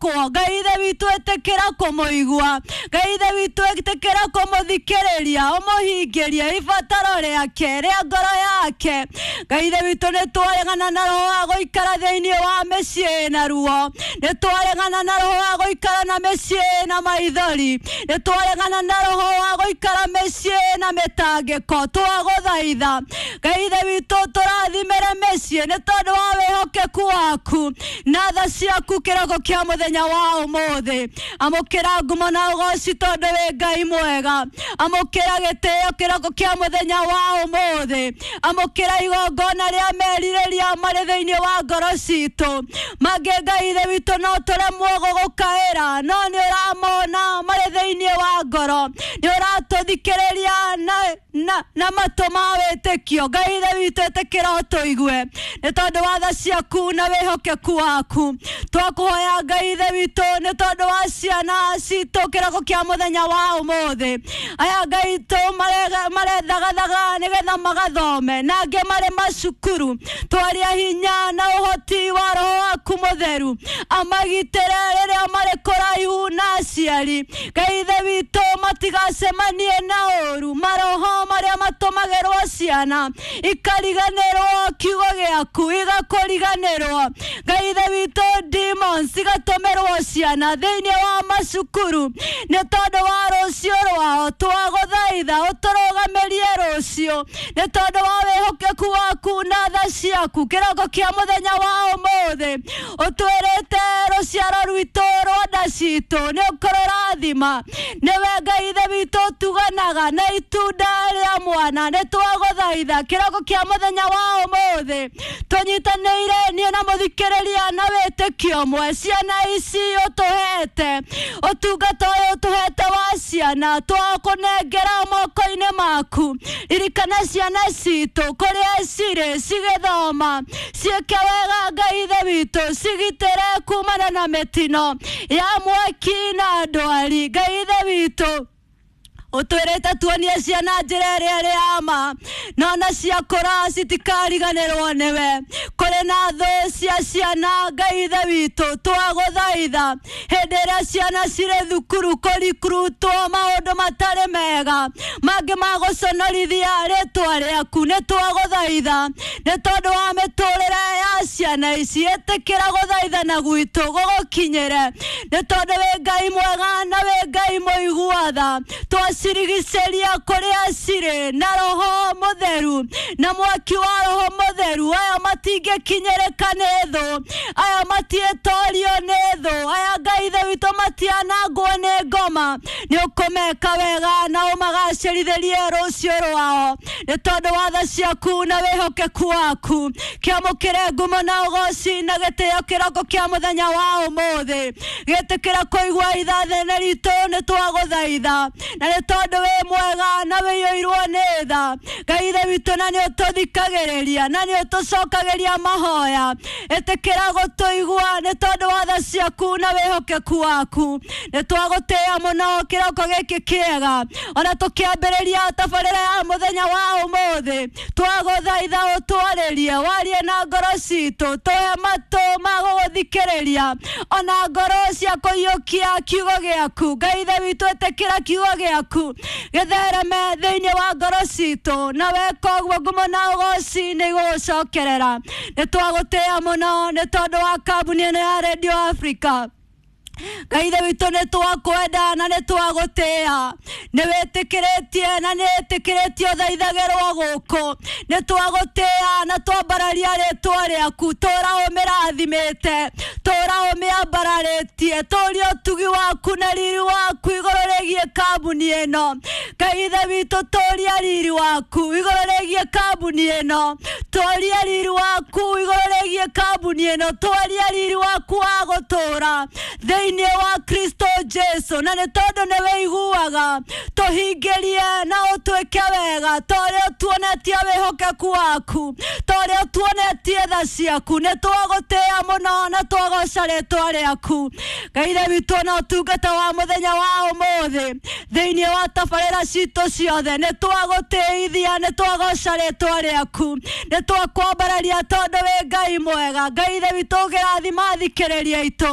Gwĩkwo Ngai ithe witũ, ĩtĩkĩra kũmũigua. Ngai ithe witũ, ĩtĩkĩra kũmũthikĩrĩria, ũmũhingĩrie ibataro rĩake rĩa ngoro yake. Ngai ithe witũ, nĩ twaregana na roho wa gũikara thĩinĩ wa mĩciĩ na ruo, nĩ twaregana na roho wa gũikara na mĩciĩ na maithori, nĩ twaregana na roho wa gũikara mĩciĩ na mĩtangĩko. Twagũthaitha Ngai ithe witũ, tũrathimĩre mĩciĩ nĩ tondũ wa wĩhokeku waku na tha ciaku. Kĩroko kĩa mũthenya wa ũmũthĩ, amũkĩra ngumo na ũgoci tondũ wĩ Ngai mwega. Amũkĩra gĩtĩo kĩroko kĩa mũthenya wa ũmũthĩ. Amũkĩra igongona rĩa merirĩria marĩ thĩinĩ wa ngoro citũ. Mangĩ Ngai ithe witũ no tũremwo gũgũkaĩra, no nĩ ũramona marĩ thĩinĩ wa ngoro, nĩ ũratũthikĩrĩria na matũ ma wĩtĩkio. Ngai ithe witũ, ĩtĩkĩra ũtũigue nĩ tondũ wa tha ciaku na wĩhokeku waku. Twakũhoya Ngai ithe witũ nĩ tondũ wa ciana citũ kĩroko kĩa mũthenya wa ũmũthĩ. Aya Ngai tũ marethagathaga nĩgetha magathome, na angĩ marĩ macukuru, twaria hinya na ũhoti wa roho waku mũtheru amagitĩre rĩrĩa marĩ kũraihu na aciari. Ngai ithe witũ, matigacemanie na ũru, maroho marĩa matũmagĩrwo ciana ikariganĩrwo kiugo gĩaku, igakũriganĩrwo. Ngai ithe witũ, demons igatũmĩrwo ciana thĩinĩ wa macukuru nĩ tondũ wa rũciũ rwao. Twagũthaitha ũtũrũgamĩrie rũciũ nĩ tondũ wa wĩhokeku waku na tha ciaku. Kĩroko kĩa mũthenya wa ũmũthĩ, ũtwĩrĩte rũciaro rwitũ rwa nda citũ nĩ ũkũrũrathima. Nĩwe Ngai ithe witũ ũtuganaga na itunda rĩa mwana. Nĩ twagũthaitha kĩroko kĩa mũthenya wa ũmũthĩ, tũnyitanĩire niĩ na mũthikĩrĩria na wĩtĩkio ũmwe. Ciana ici ũtũhete, ũtungata ũyũ ũtũhete wa ciana, twakũnengera moko-inĩ maku. Ririkana ciana citũ kũrĩa cirĩ cigĩthoma, ciĩke wega. Ngai ithe witũ, cigitĩre kumana na mĩtino ya mwaki na ndwari. Ngai ithe witũ, ũtwĩrĩte tuonie ciana njĩra ĩrĩa ĩrĩ ya ma, no na ciakũra citikariganĩrwo nĩwe. Kũrĩ na thũ cia ciana. Ngai ithe witũ, twagũthaitha hĩndĩ ĩrĩa ciana cirĩ thukuru kũrikurutwo maũndũ matarĩ mega mangĩ ma gũconorithia rĩtwa rĩaku, nĩ twagũthaitha nĩ tondũ wa mĩtũrĩre ya ciana ici, ĩtĩkĩra gũthaithana gwitũ gũgũkinyĩre nĩ tondũ wĩ Ngai mwega na wĩ Ngai mũigua tha. Twacirigicĩria kũrĩa cirĩ na roho mũtheru na mwaki wa roho mũtheru. Aya matingĩkinyĩrĩka nĩ thũ, aya matiĩtorio nĩ thũ, aya Ngai ithe witũ matianangwo nĩ ngoma. Nĩ ũkũmeka wega na ũmagacĩrithĩrie rũciũ rwao nĩ tondũ wa tha ciaku na wĩhokeku waku. Kĩamũkĩre ngumo na ũgoci na gĩtĩo kĩroko kĩa mũthenya wa ũmũthĩ. Gĩtĩkĩra kũigua ithathene ritũ, nĩ twagũthaitha na nĩ tondũ wĩ mwega na wĩiyũirwo nĩ tha, Ngai ithe witũ, na nĩ ũtũthikagĩrĩria na nĩ ũtũcokagĩria mahoya. Ĩtĩkĩra gũtũigua nĩ tondũ wa tha ciaku na wĩhokeku waku. Nĩ twagũtĩĩa mũno kĩroko gĩkĩ kĩega, ona tũkĩambĩrĩria tabarĩra ya mũthenya wa ũmũthĩ. Twagũthaitha ũtwarĩrie, warie na ngoro citũ, tũhe matũ ma gũgũthikĩrĩria ona ngoro cia kũiyũkia kiugo gĩaku. Ngai ithe witũ, ĩtĩkĩra kiugo gĩaku gĩthereme thĩinĩ wa ngoro citũ, na weka ũguo ngumo na ũgoci nĩ igũgũcokerera. Nĩ twagũtĩĩa mũno nĩ tondũ wa kambuni ĩno ya Radio Africa. Ngai ithe witũ, nĩ twakwenda na nĩ twagũtĩĩa. Nĩ wĩtĩkĩrĩtie na nĩ ĩtĩkĩrĩtie ũthaithagĩrwo gũkũ. Nĩ twagũtĩĩa na twambararia rĩtwa rĩaku. Tũra ũmĩrathimĩte, tũra ũmĩambararĩtie, tũria ũtugi waku na riri waku igũrũ rĩgiĩ kambuni ĩno. Ngai ithe witũ, tũria riri waku igũrũ rĩgiĩ kambuni ĩno, tũria riri waku igũrũ rĩgiĩ kambuni ĩno, twaria riri waku wa gũtũra thĩinĩ wa Kristo Jesu. Na nĩ tondũ nĩ wĩiguaga, tũhingĩrie na ũtwĩke wega ta ũrĩa ũtuonetie wĩhokeku waku, ta ũrĩa ũtuonetie tha ciaku. Nĩ twagũtĩĩa mũno na twagoca rĩtwa rĩaku. Ngai ithe witũ, na ũtungata wa mũthenya wa ũmũthĩ thĩinĩ wa tabarĩra citũ ciothe, nĩ twagũtĩithia, nĩ twagoca rĩtwa rĩaku, nĩ twakwambararia tondũ wĩ Ngai mwega. Ngai ithe witũ, ũngĩrathima thikĩrĩria itũ.